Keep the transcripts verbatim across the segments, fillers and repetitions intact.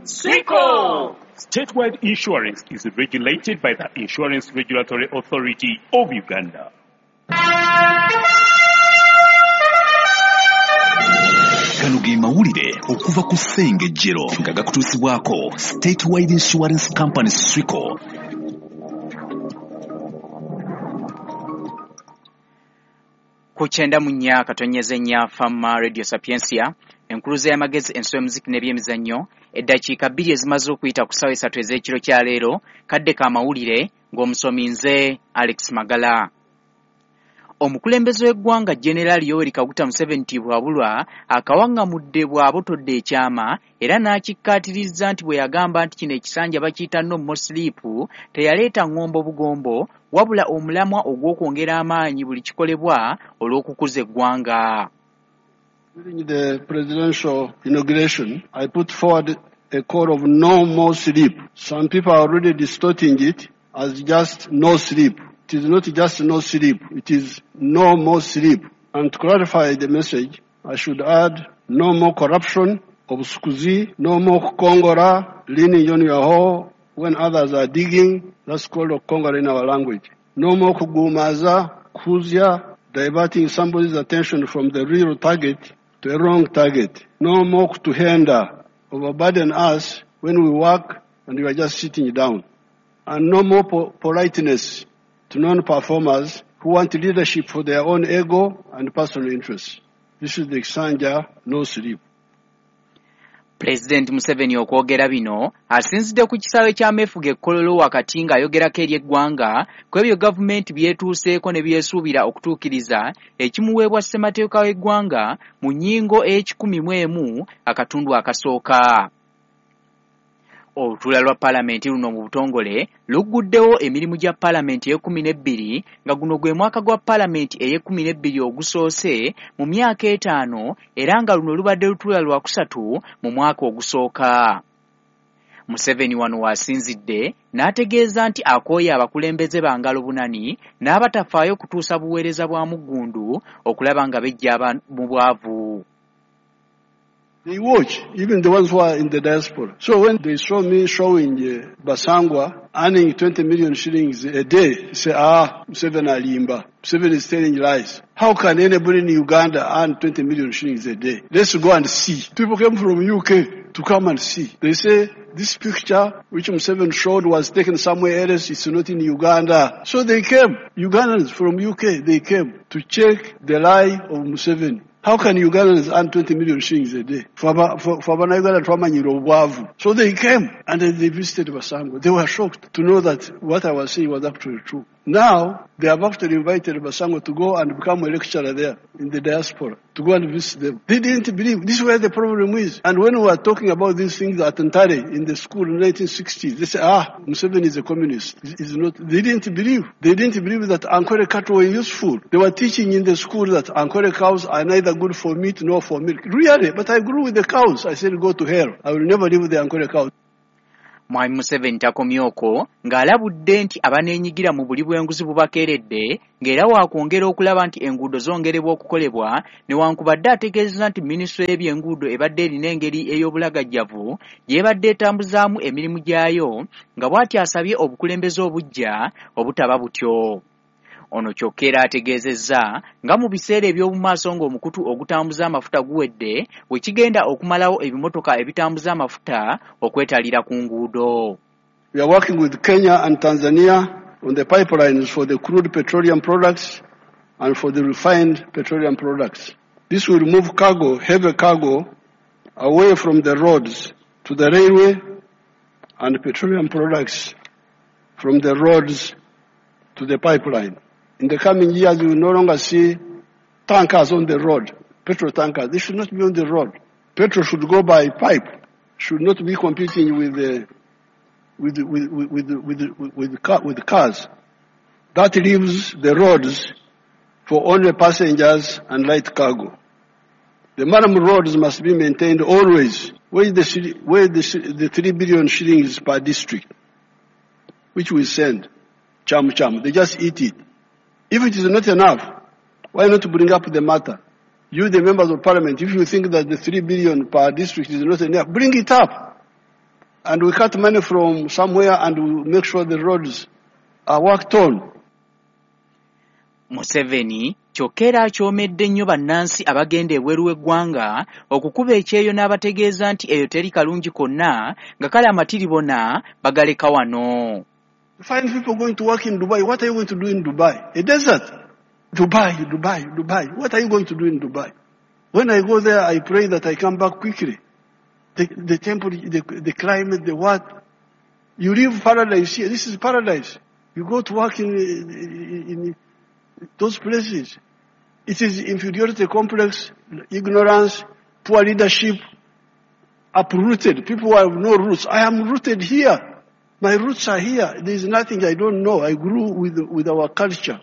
Swico! Statewide Insurance is regulated by the Insurance Regulatory Authority of Uganda. Gano ge mawulire okuva ku Ssengejjero nga gakutuusibwako Statewide Insurance Company Swico. Ku kyenda mu nnya katonyeze nnya Fama Radio Sapientia, enkuluze y'amagezi, enso y'omuziki n'ebyemizannyo. Eddakiika bbiri ezimaze okuyita ku ssaawa esatu ez'ekiro kya leero, kadde ka mawulire ng'omusomi nze Alex Magala. Omukulembeze w'eggwanga General Yoweri Kaguta Museveni Tibwabulwa akawaŋŋamudde bw'abotodde ekyama era n'akikkaatirizza nti bwe yagamba nti kino ekisanja bakiyita no more sleep teyaleeta ŋŋombo bugombo wabula omulamwa ogw'okwongera amaanyi buli kikolebwa olw'okukuza eggwanga. During the presidential inauguration, I put forward a call of no more sleep. Some people are already distorting it as just no sleep. It is not just no sleep, it is no more sleep. And to clarify the message, I should add no more corruption, obscusi, no more kongora, leaning on your hoe when others are digging. That's called a kongora in our language. No more kugumaza, kuzia, diverting somebody's attention from the real target to a wrong target. No more kutuhenda, overburden us when we work and we are just sitting down. And no more po- politeness to non-performers who want leadership for their own ego and personal interests. This is the Kisanja no sleep. Pulezidenti Museveni okwogera bino asinzidde ku kisaawe ky'ameefuga e Kololo wakati ng'ayogerako eri eggwanga ku ebyo gavumenti byetuuseeko ne byesuubira okutuukiriza ekimuweebwa ssemateeka w'eggwanga mu nnyingo ey'ekikumi mu emu akatundu akasooka. Olutuula lwa paalamenti luno mu butongole lugguddewo emirimu gya paalamenti ey'ekkumi n'ebbiri nga guno gwe mwaka gwa paalamenti ey'ekkumi n'ebbiri ogusoose mu myaka etaano era nga luno lubadde lutuula lwa kusatu mu mwaka ogusooka. Museveni wano w'asinzidde n'ategeeza nti akooye abakulembeze ba ngalo bunani n'abatafaayo kutuusa buweereza bwa muggundu okulaba nga beggya mu bwavu. They watch, even the ones who are in the diaspora. So when they saw me showing uh, Basangwa earning twenty million shillings a day, they say, ah, Museveni alimba. Museveni is telling lies. How can anybody in Uganda earn twenty million shillings a day? Let's go and see. People came from U K to come and see. They say, this picture which Museveni showed was taken somewhere else. It's not in Uganda. So they came. Ugandans from U K, they came to check the lie of Museveni. How can Ugandans earn twenty million shillings a day? So they came and then they visited Basangwa. They were shocked to know that what I was saying was actually true. Now, they have actually invited Basangwa to go and become a lecturer there in the diaspora, to go and visit them. They didn't believe. This is where the problem is. And when we were talking about these things at Ntare in the school in the nineteen sixties, they said, ah, Museveni is a communist. He's not. They didn't believe. They didn't believe that Ankole cattle were useful. They were teaching in the school that Ankole cows are neither good for meat nor for milk. Really, but I grew with the cows. I said, go to hell. I will never leave the Ankole cows. Mwami Museveni takomye okwo ng'alabudde nti abaneenyigira mu buli bw'enguzi bubakeeredde ng'era waakwongera okulaba nti enguudo zongerebwa okukolebwa newankubadde ategeezezza nti minisitule y'ebyenguudo ebadde erina engeri ey'obulagajjavu gy'ebadde etambuzaamu emirimu gyayo nga bw'atyo asabye obukulembeze obuggya obutaba butyo. Ono kyokka era ategeezezza nga mu biseera eby'omumaaso ng'omukutu ogutambuza amafuta guwedde we kigenda okumalawo ebimotoka ebitambuza amafuta okwetalira ku nguudo. We are working with Kenya and Tanzania on the pipelines for the crude petroleum products and for the refined petroleum products. This will move cargo, heavy cargo, away from the roads to the railway and petroleum products from the roads to the pipeline. In the coming years, we will no longer see tankers on the road, petrol tankers. They should not be on the road. Petrol should go by pipe, should not be competing with the, with, with, with, with, with, with, car, with cars. That leaves the roads for only passengers and light cargo. The murram roads must be maintained always. Where is the, where the, the three billion shillings per district, which we send, cham cham, they just eat it. If it is not enough, why not bring up the matter? You, the members of parliament, if you think that the three billion per district is not enough, bring it up. And we cut money from somewhere and we make sure the roads are worked on. Museveni kyokka era akyomedde nnyo bannansi abagenda ebweru w'eggwanga okukuba ekyeyo n'abategeeza nti eyo teri kalungi konna nga kale amatiribona bagaleka wano. You find people going to work in Dubai. What are you going to do in Dubai? A desert. Dubai, Dubai, Dubai. What are you going to do in Dubai? When I go there, I pray that I come back quickly. The, the temperature, the, the climate, the what. You leave paradise here. This is paradise. You go to work in, in, in those places. It is inferiority complex, ignorance, poor leadership, uprooted. People who have no roots. I am rooted here. My roots are here. There is nothing I don't know. I grew with, with our culture.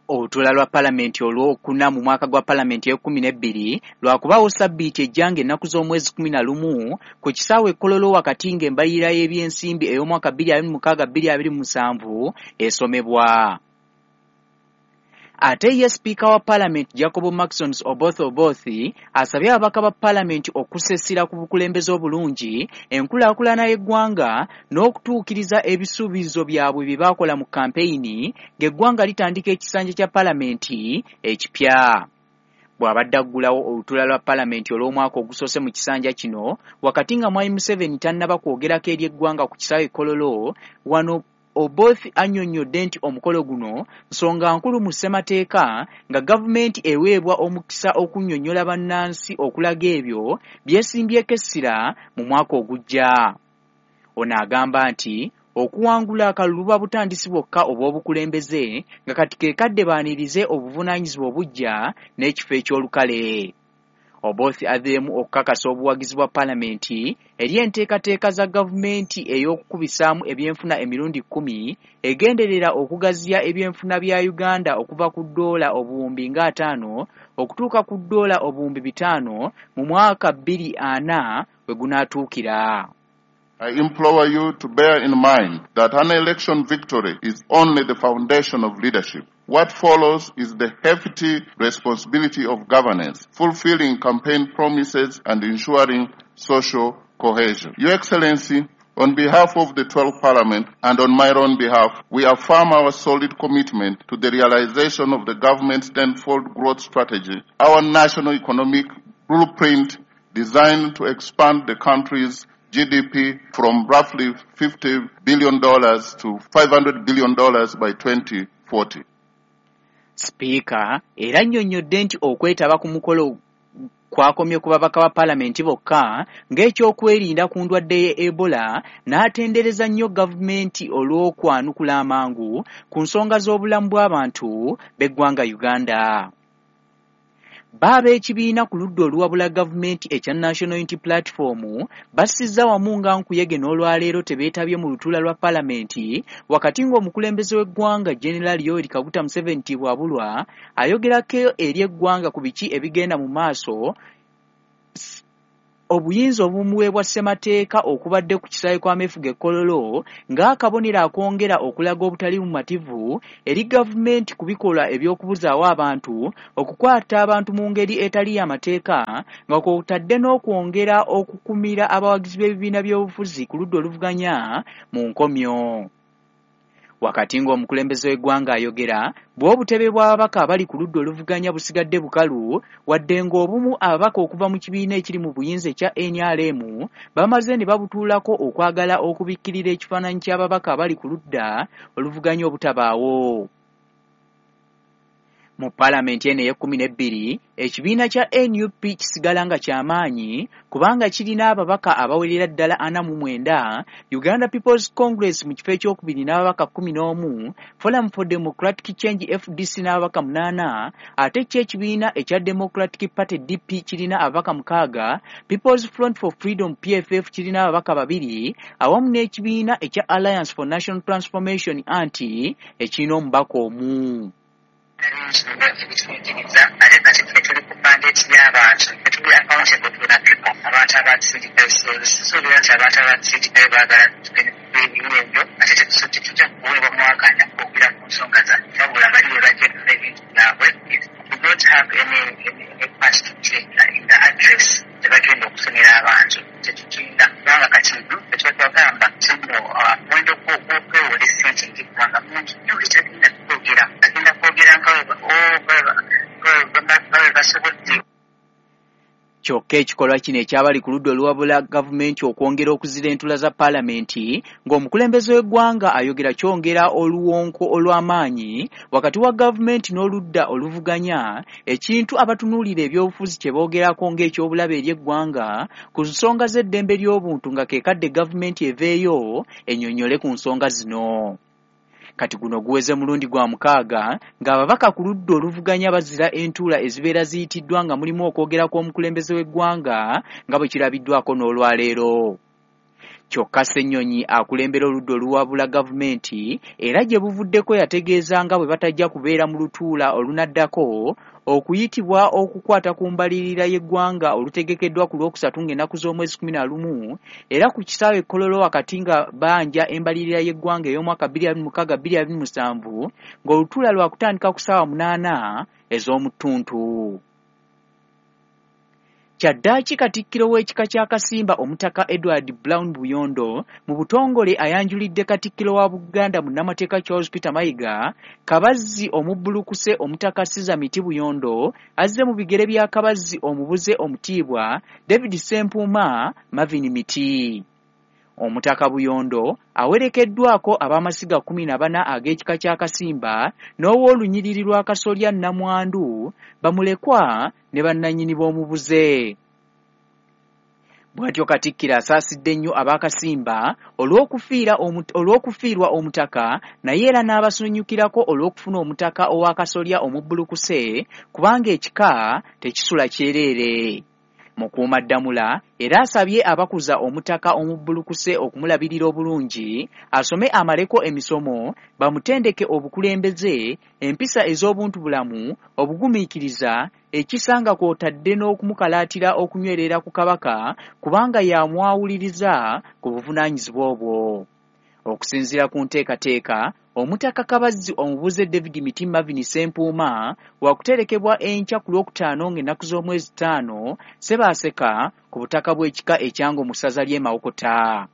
Olutuula lwa palamenti olwokuna mu mwaka gwa palamenti ey'ekkumi n'ebbiri lwakubaawo sabbiiti ejja ng'ennaku z'omwezi kkumi na lumu ku kisaawe e Kololo wakati ng'embalirira y'ebyensimbi ey'omwaka bbiri abiri mu mukaaga bbiri abiri mu musanvu esomebwa. Ate ye sipiika wa palamenti Jacob Marksons Oboth Oboth asabye ababaka ba palamenti okussa ku bukulembeze obulungi, enkulaakulana y'eggwanga n'okutuukiriza ebisuubizo byabwe bye baakola mu kampeyini ng'eggwanga litandika ekisanja kya palamenti ekipya. Bw'abadde aggulawo olutuula lwa palamenti olw'omwaka ogusoose mu kisanja kino wakati nga Mwami Museveni tannaba kwogerako eri eggwanga ku kisaawe e Kololo, wano Oboth annyonnyodde nti omukolo guno nsonga nkulu mu ssemateeka nga gavumenti eweebwa omukisa okunnyonnyola bannansi okulaga ebyo byesimbyeko essira mu mwaka ogujja. Ono agamba nti okuwangula akalulu buba butandisi bwokka obw'obukulembeze nga kati ke kadde baanirize obuvunaanyizibwa obuggya n'ekifo eky'olukale. Oboth azzeemu okukakasa obuwagizi bwa palamenti eri enteekateeka za gavumenti ey'okukubisaamu ebyenfuna emirundi kkumi egenderera okugaziya ebyenfuna bya Uganda okuva ku ddoola obuwumbi nga ataano okutuuka ku ddoola obuwumbi bitaano mu mwaka bbiri ana we gunaatuukira. I implore you to bear in mind that an election victory is only the foundation of leadership. What follows is the hefty responsibility of governance, fulfilling campaign promises and ensuring social cohesion. Your Excellency, on behalf of the twelfth Parliament and on my own behalf, we affirm our solid commitment to the realization of the government's tenfold growth strategy, our national economic blueprint designed to expand the country's G D P from roughly fifty billion dollars to five hundred billion dollars by twenty forty. Sipiika era annyonnyodde nti okwetaba ku mukolo kwakomye ku babaka ba palamenti bokka ng'ekyokwerinda ku ndwadde ye Ebola, n'atendereza nnyo gavumenti olw'okwanukula amangu ku nsonga z'obulamu bw'abantu b'eggwanga Uganda. Baaba ekibiina ku ludda oluwabula gavumenti ekya National Unity Platform bassizza wamu nga nkuyege n'olwaleero tebeetabye mu lutuula lwa palamenti wakati ng'omukulembeze w'eggwanga General Yoweri Kaguta Museveni Tibuhaburwa ayogerako eri eggwanga ku biki ebigenda mu maaso obuyinza obumuweebwa ssemateeka okubadde ku kisaawe kw'ameefuga e Kololo ng'akabonero akongera okulaga obutali bumativu eri gavumenti ku bikolwa eby'okubuzaawo abantu, okukwata abantu mu ngeri etali y'amateeka nga kw'otadde n'okwongera okukumira abawagizi b'ebibiina by'obufuzi ku ludda oluvuganya mu nkomyo. Wakati ng'omukulembeze w'eggwanga ayogera, bw'obutebe bw'ababaka abali ku ludda oluvuganya busigadde bukalu, wadde ng'obumu ababaka okuva mu kibiina ekiri mu buyinza ekya N R M bamaze ne babutuulako okwagala okubikkirira ekifaananyi ky'ababaka abali ku ludda oluvuganya obutabaawo. Mu palamenti eno ey'ekkumi n'ebbiri, ekibiina kya N U P kisigala nga kyamaanyi kubanga kirina ababaka abawerera ddala ana mu mwenda, Uganda People's Congress mu kifo ekyokubiri n'ababaka kkumi n'omu, Forum for Democratic Change F D C n'ababaka munaana, ate kyo ekibiina ekya Democratic Party D P kirina ababaka mukaaga, People's Front for Freedom P F F kirina ababaka babiri, awamu n'ekibiina ekya Alliance for National Transformation anti ekirina omubaka omu. Ebituyigiriza ate kati ffe tuli ku mandate y'abantu, tuli accountable to the people, abantu abatusindikayo. Suubira nti abantu abatusindikayo baagala ebimu ebyo, ate tetujja kuweebwa mwakanya kwogera ku nsonga zaffe, wabula bali be bajja okukola ebintu byabwe. We don't have any, any, any part to play in the address gye bagenda okusomera abantu, tetukinda kubanga kati Kyokka ekikolwa kino ekyabali ku ludda oluwabula gavumenti okwongera okuzira entuula za paalamenti ng'omukulembeze w'eggwanga ayogera kyongera oluwonko olw'amaanyi wakati wa gavumenti n'oludda oluvuganya, ekintu abatunuulira ebyobufuzi kye boogerako ng'ekyobulabe eri eggwanga ku nsonga z'eddembe ly'obuntu nga ke kadde gavumenti eveeyo ennyonnyole ku nsonga zino. Kati guno guweze mulundi gwa mukaaga ng'ababaka ku ludda oluvuganya bazira entuula ezibeera ziyitiddwa nga mulimu okwogera kw'omukulembeze w'eggwanga nga bwe kirabiddwako n'olwaleero. Kyokka Ssennyonyi akulembera oludda oluwabula gavumenti era gye buvuddeko yategeeza nga bwe batajja kubeera mu lutuula olunaddako okuyitibwa okukwata ku mbalirira y'eggwanga olutegekeddwa ku Lwokusatu ng'ennaku z'omwezi kkumi na lumu era ku kisaawe e Kololo wakati nga banja embalirira y'eggwanga ey'omwaka bbiri abiri mu mukaaga bbiri abiri mu musanvu ng'olutuula lwakutandika ku ssaawa munaana ez'omu ttuntu. Kyaddaaki Katikkiro w'ekika kya Kasimba Omutaka Edward Brown Buyondo mu butongole ayanjulidde Katikkiro wa Buganda munnamateeka Charles Peter Mayiga Kabazzi omubbulukuse Omutaka Caesar Miti Buyondo azze mu bigere bya Kabazzi omubuze omutiibwa David Ssempuuma Marvin Miti. Omutaka Buyondo awerekeddwako ab'amasiga kkumi na bana ag'ekika kya Kasimba n'ow'olunyiriri lwa Kasolya Nnamwandu bamulekwa ne bannannyini b'omubuze. Bw'atyo Katikkiro asaasidde nnyo ab'Akasimba olw'okufiirwa omutaka naye era n'abasanyukirako olw'okufuna omutaka ow'Akasolya omubbulukuse kubanga ekika tekisula kyereere. Mukuumaddamula era asabye abakuza omutaka omubbulukuse okumulabirira obulungi, asome amaleko emisomo, bamutendeke obukulembeze, empisa ez'obuntubulamu, obugumiikiriza, ekisa nga kw'otadde n'okumukalaatira okunywerera ku Kabaka kubanga yamwawuliriza ku buvunaanyizibwa obwo. Okusinziira ku nteekateeka, Omutaka Kabazzi omubuze David Miti Marvin Ssempuuma wakuterekebwa enkya ku Lwokutaano ng'ennaku z'omwezi ttaano Ssebaaseka ku butaka bw'ekika ekyango mu ssaza ly'e Mawokota.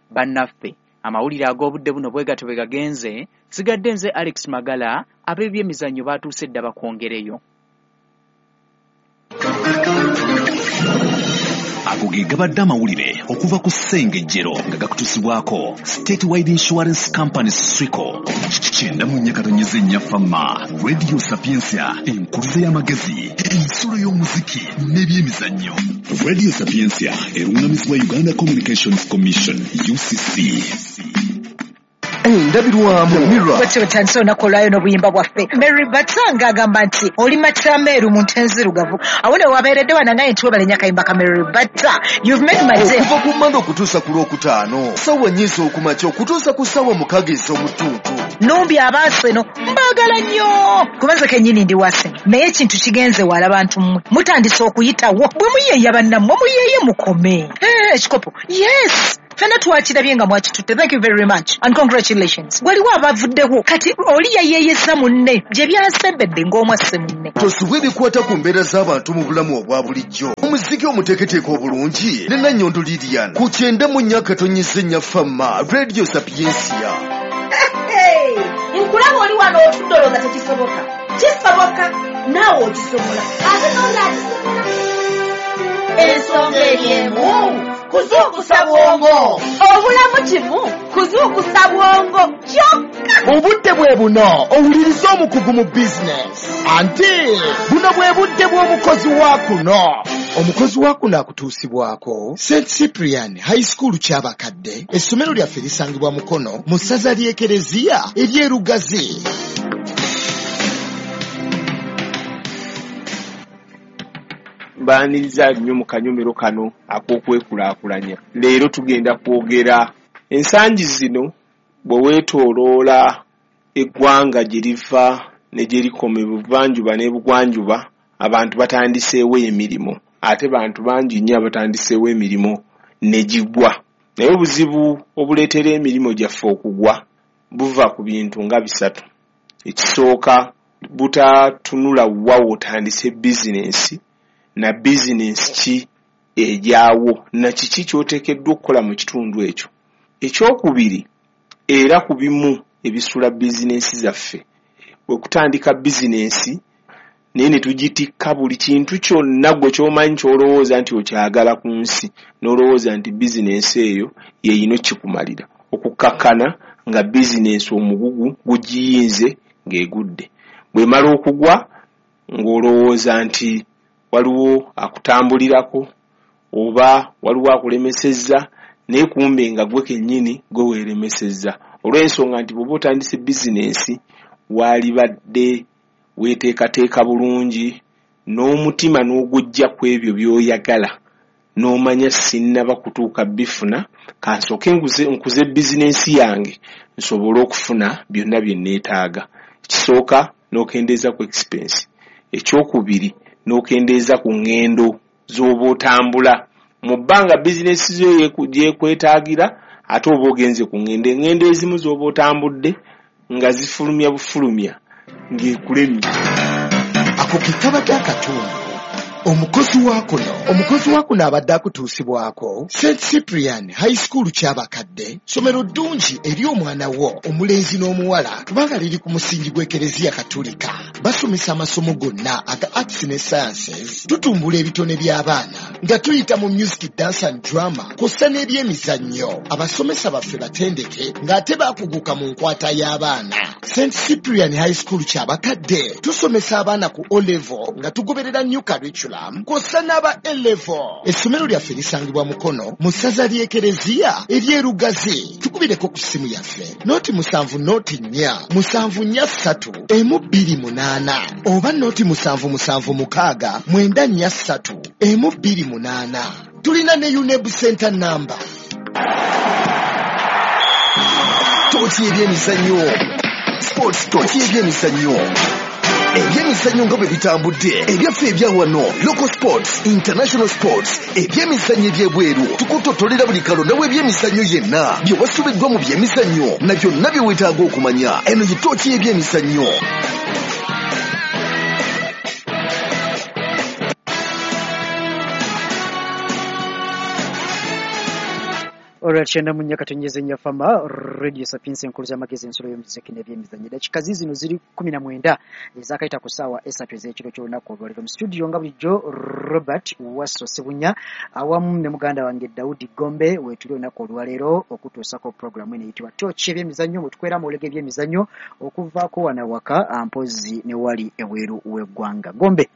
Bannaffe, amawulire ag'obudde buno bwe gatyo bwe gagenze, nsigadde nze Alex Magala, ab'ebyemizannyo baatuuse dda bakwongereyo. Ago ge gabadde amawulire okuva ku Ssengejjero nga gakutuusibwako Statewide Insurance Company Swico. Kyenda mu nnya katonnyeze nnya Fama, Radio Sapientia, enkuluze y'amagezi, ensulo y'omuziki n'ebyemizannyo. Radio Sapientia eruŋŋamizibwa Uganda Communications Commission U C C. Endabirwamu Mirror. Bwetyo bwetandise olunaku olwayo n'obuyimba bwaffe. Mary Batanga agamba nti oli matameeru mu nte enzirugavu. Awo ne wabeeredde wano naye nti webale nnyo akayimba ka Mary Bata. You've made my day. Okuva ku Mmande okutuusa ku Lwokutaano, ssaawa nnya ez'okumakya okutuusa ku ssaawa mukaaga ez'omu ttuntu. Numbi abaaseno mbaagala nnyo. Kuba nze kennyini ndi Waseno. Naye ekintu kigenze wala bantu mmwe. Mutandise okuyitawo. Bwe muyeeya bannammwe muyeeye mukome. Eh, ekikopo. Yes. Fena twakirabye nga mwakitutte. Thank you very much and congratulations. Waliwo abavuddewo kati oli yayeeyeza munne gye byasembedde ng'omwasse munne. Tosubwa ebikwata ku mbeera z'abantu mu bulamu obwa bulijjo. Omuziki omuteeketeeke obulungi ne Nannyondo Lilian ku kyenda mu nnya katonnyeze nnya Fama Radio Sapientia. Nkulaba oli wano otudde olowooza tekisoboka. Kisoboka naawe okisobola ate n'oli akisobola. Ensonga eri emu kuzuukusa bwongo. Obulamu kimu kuzuukusa bwongo kyokka. Obudde bwe buno owuliriza omukugu mu bizinesi. Anti buno bwe budde bw'omukozi wa kuno. Omukozi wa kuno akutuusibwako Saint Cyprian High School Kyabakadde. Essomero lyaffe lisangibwa Mukono mu ssaza ly'Ekereziya ery'e Lugazi. Mbaaniriza nnyo mu kanyomero kano ak'okwekulaakulanya. Leero tugenda kwogera ensangi zino bwe weetooloola eggwanga gye liva ne gye likoma ebuvanjuba n'ebugwanjuba, abantu batandiseewo emirimu ate bantu bangi nnyo abatandiseewo emirimu ne gigwa. Naye obuzibu obuleetera emirimu gyaffe okugwa buva ku bintu nga bisatu. Ekisooka, butatunula wa w'otandise bizinensi na bizinensi ki ejaawo na kiki ky'oteekeddwa okukola mu kitundu ekyo. Ekyokubiri, era ku bimu ebisula bizinensi zaffe, bwe kutandika bizinensi Naye ne tugitikka buli kintu kyonna gwe ky'omanyi ky'olowooza nti okyagala ku nsi, n'olowooza nti bizinensi eyo y'eyina okikumalira. Okukkakkana nga bizinensi omugugu gugiyinze ng'egudde. Bw'emala okugwa ng'olowooza nti waliwo akutambulirako oba waliwo akulemesezza, naye kumbe nga gwe kennyini gwe weeremesezza. Olw'ensonga nti bw'oba otandise bizinensi waalibadde weeteekateeka bulungi n'omutima n'ogujja ku ebyo by'oyagala, n'omanya sinnaba kutuuka bifuna, kansooke nkuze bizinensi yange nsobole okufuna byonna bye neetaaga. Ekisooka n'okendeeza ku expense, ekyokubiri n'okendeeza ku ŋŋendo z'oba otambula. Mu bbanga bizinensi zo gyekwetaagira ate oba ogenze ku ŋŋendo, eŋŋendo ezimu z'oba otambudde nga zifulumya bufulumya ng'ekulemye. Ako ke kabadde akatundu. Omukozi wa kuno omukozi wa kuno abadde akutuusibwako Saint Cyprian High School Kyabakadde, ssomero ddungi eri omwana wo omulenzi n'omuwala kubanga liri ku musingi gw'Ekereziya Katolika. Basomesa amasomo gonna aga arts ne sciences, tutumbula ebitone by'abaana nga tuyita mu music, dance and drama kw'ossa n'ebyemizannyo. Abasomesa baffe batendeke ng'ate baakuguka mu nkwata y'abaana. Saint Cyprian High School Kyabakadde tusomesa abaana ku O level nga tugoberera new curriculum kw'ossa n'aba A level. Essomero lyaffe lisangibwa Mukono mu ssaza ly'Ekereziya ery'e Lugazi. Tukubireko ku ssimu yaffe noti musanvu noti nnya musanvu nnya ssatu emu bbiri munaana oba noti musanvu musanvu mukaaga mwenda nnya ssatu emu bbiri munaana. Tulina ne UNEB Center number. Tooki ebyemizannyo, sports tooki ebyemizannyo, ebyemizannyo nga bwe bitambudde, ebyaffe ebya wano, local sports, international sports, ebyemizannyo ebyebweru. Tukutotolera buli kalonda w'ebyemizannyo yenna, bye wasubiddwa mu byemizannyo na byonna bye weetaaga okumanya. Eno ye tooki y'ebyemizannyo. Olwa kyenda mu nnya katonnyeze nnya Fama Radio Sapientia enkulu z'amagezi ensolo y'omuziki n'ebyemizannyo. Dakika zino ziri kumi na mwenda ezaakayita ku ssaawa esatu ez'ekiro ky'olunaku olwaleero. Mu studio nga bulijjo Robert Wasso Ssebunya awamu ne muganda wange Daudi Gombe weetuli olunaku olwaleero okutuusako puroguramu eno eyitibwa Tooki ebyemizannyo, bwe tukwera amawulire g'ebyemizannyo okuvaako wano awaka mpozzi ne wali ebweru w'eggwanga. Gombe,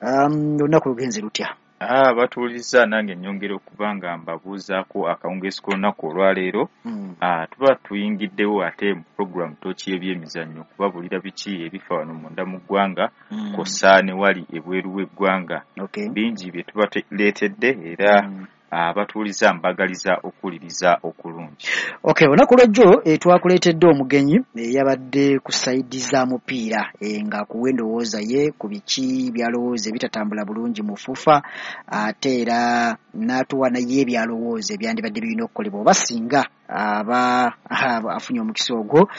olunaku lugenze lutya? Ah, batuwuliriza nange nnyongera okuba nga mbabuuzaako akawungeezi k'olunaku olwaleero. Mm. Ah, tuba tuyingiddewo ate mu puroguramu Tooki y'ebyemizannyo kubabuulira biki ebifa wano munda mu ggwanga mm. kw'ossa ne wali ebweru w'eggwanga. Okay. Bingi bye tubaleetedde era mm. abatuwuliriza mbagaliza okuwuliriza okulungi. Okay, olunaku lwajjo e, twakuleetedde omugenyi eyabadde ku sayidi za mupiira e, ng'akuwa endowooza ye ku biki by'alowooza ebitatambula bulungi mu FUFA, ate era n'atuwa naye ebyalowooza ebyandibadde birina okukolebwa oba singa aba afunye omukisa ogwo,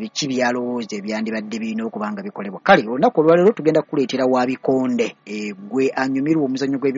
biki byalowooza ebyandibadde birina okuba nga bikolebwa. Kale olunaku olwaleero tugenda kukuleetera wa bikonde, e, gwe anyumirwa omuzannyo gw'ebikonde.